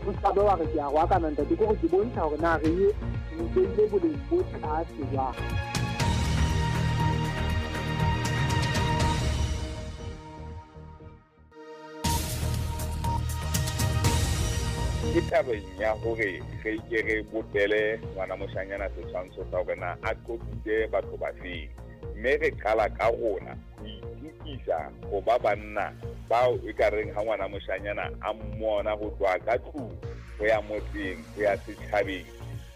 O ska be wa re ke a roakana ntate, ke hore ke bontsha hore na re ye re beile boleng bo tlase jwang. Ke tabeng ya hore re ke re bopele ngwana moshanyana setshwantsho sa hore na a qoqise batho ba feng, mme re qala ka rona ho itukisa ho ba banna bao e ka reng ha ngwana moshanyana a mmona ho tloha ka tlung ho ya motseng ho ya setjhabeng,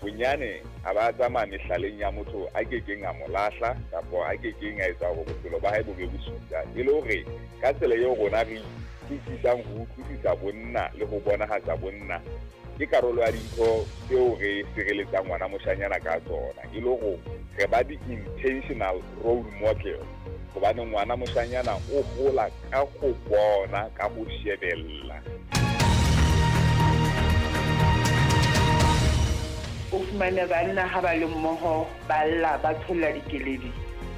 bonyane a ba tsamaya mehlaleng ya motho a kekeng a mo lahla kapa a kekeng a etsa hore bophelo ba hae bo be bosula, e le hore ka tsela eo rona re utlwisisang ho utlwisisa bonna le ho bonahatsa bonna ke karolo ya dintho tseo re sireletsang ngwana moshanyana ka tsona, e le hore re ba di-intentional role model, hobane ngwana moshanyana o hola ka ho bona, ka ho shebella. O fumane banna ha ba le mmoho ba lla ba tsholla dikeledi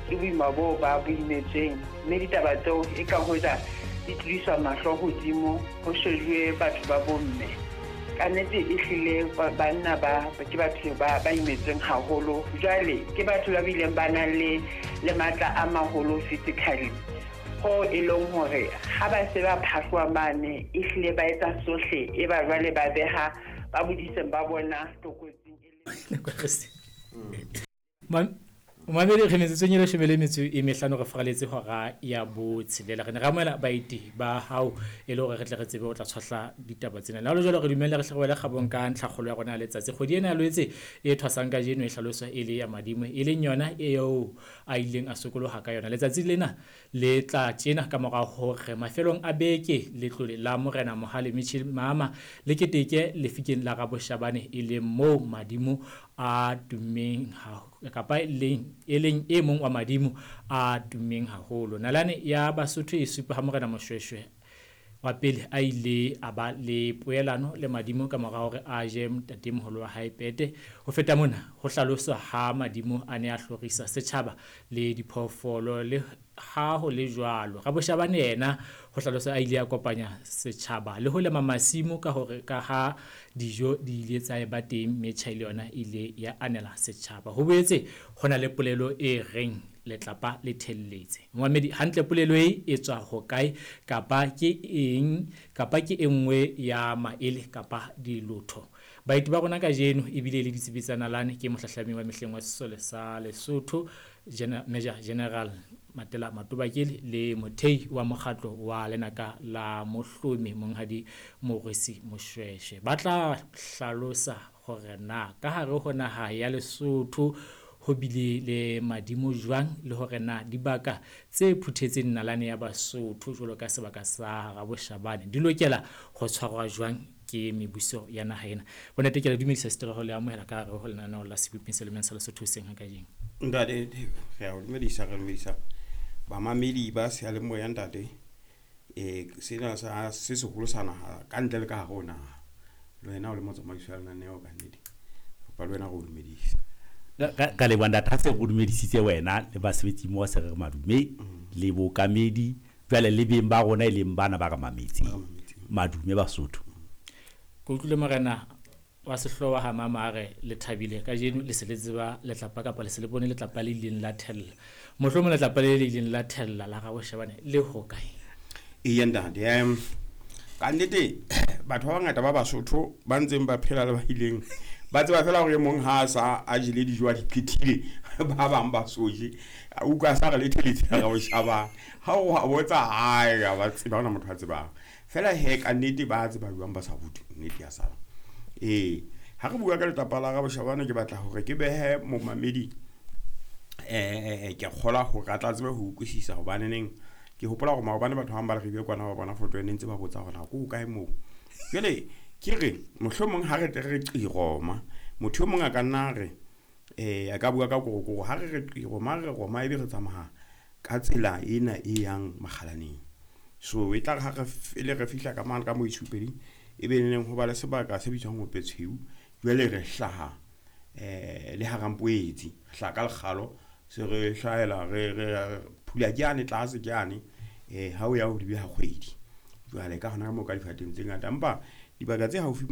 ke boima boo ba bo imetsweng, mme ditaba tseo e ka hoja di tlodiswa mahlo hodimo ho shejuwe batho ba bomme. Ka nnete e hlile banna ba ke batho ba imetsweng haholo. Jwale ke batho ba bileng ba nang le matla a maholo physically, ho e leng hore ha ba se ba phahloha mane e hlile ba etsa sohle, e ba jwale ba beha ba bodiseng ba bona tlokotsing e le. Mamedi re metsotsong e leshome le metso e mehlano re faraletse hora ya botshelela. Re ne re amohela baeti ba hao e le hore re tle re tsebe ho tla tshwahla ditaba tsena. Le ha ho le jwalo, re dumelle re hle re wele kgabong ka ntlhakgolo ya rona ya letsatsi. Kgwedi ena ya Loetse e thwasang kajeno e hlaloswa e le ya madimo, e leng yona eo a ileng a sokoloha ka yona. Letsatsi lena le tla tjena ka mora hore mafelong a beke letlole la Morena Mohale Mitchell Mama le keteke lefikeng la Raboshabane, e leng moo madimo a tummeng kapa e leng e mong wa madimo a tummeng haholo. Nalane ya Basotho e supa ha Morena Moshweshwe wa pele a ile a ba le poelano le madimo ka mora hore a je ntatemoholo wa hae pete. Ho feta mona, ho hlaloswa ha madimo a ne a hlorisa setjhaba le diphoofolo. Le ha ho le jwalo, Raboshabane yena ho hlaloswa a ile a kopanya setjhaba le ho lema masimo ka hore ka ha dijo di ile tsa eba teng, metjha le yona e ile ya anela setjhaba. Ho boetse ho na le polelo e reng letlapa le thelletse. Momamedi, hantle polelo e e tswa hokae, kapa ke eng, kapa ke e nngwe ya maele kapa dilotho? Baeti ba rona kajeno ebile le ditsebi tsa nalane ke mohlahlami wa mehleng wa sesole sa Lesotho, Major General Matela Matobakele, le mothei wa mokgatlo wa Lenaka la Mohlomi Monghadi Morwesi Moshweshwe. Ba tla hlalosa hore na ka hare ho naha ya Lesotho ho bile le madimo jwang, le hore na dibaka tse phuthetseng nalane ya Basotho jwalo ka sebaka sa Raboshabane di lokela ho tshwarwa jwang ke mebuso ya naha ena. Bontate, ke le dumedisa seterego le amohela ka hare ho lenaneo la Seboping se Lemeng sa Lesotho hoseng ha kajeno. Ntate, re a o dumedisa, re dumedisa bamamedi ba seyalemoya ntate. Sena sa se seholo sa naha ka ntle le ka hare ho naha. Le wena o le motsamaisi wa lenaneo ka nnete. Kopa le wena re o dumedise. Ka leboha ntate, ha se re o dumedisitse wena le basebetsi mmoho, se re re madume le bookamedi, jwale le beng ba rona e leng bana ba re mametseng. Madume Basotho. Ke utlwile morena wa sehlooho wa ha mama a re le thabile kajeno le se le tseba letlapa kapa le se le bone letlapa le ileng la thella. Mohlomong letlapa le le ileng la thella la Raboshabane le hokae? Eya ntate, ka nnete batho ba bangata ba Basotho ba ntseng ba phela le ba ileng ba tseba fela hore e mong ha a sa a jele dijo a di phethile, ba bang ba so je. A utlwa sa re le theletse la Raboshabane. Ha o a botsa hae, ha ba tseba, ha hona motho a tsebang. Fela he ka nnete ba tseba jwang ba sa rutwe, nnete ya sala. Ha re bua ka letlapa la Raboshabane, ke batla hore ke behe momamedi, ke kgolwa hore a tla tsebe ho utlwisisa hobaneneng ke hopola hore maobane batho ba bang ba re ribe kwana ba bona foto e ne ntse ba botsa hore na ko kae moo. Jwale ke re mohlomong ha re tle re qiroma, motho e mong a ka nna re, a ka bua ka korokoro, ha re re qiroma, re roma ebe re tsamaya ka tsela ena e yang Makgalaneng. So e tla re ha re le re fihla ka mane ka moo Itshupeding, e be neng ho ba le sebaka se bitswang Hopetshweu. Jwale re hlaha, le Harampoetsi, re hlaha ka lekgalo, se re hlahela, re phula ke yane tlase ke yane, ha o ya ho dibe ha kgwedi. Jwale ka hona ka moo ka difateng tse ngata, empa dibaka tse haufi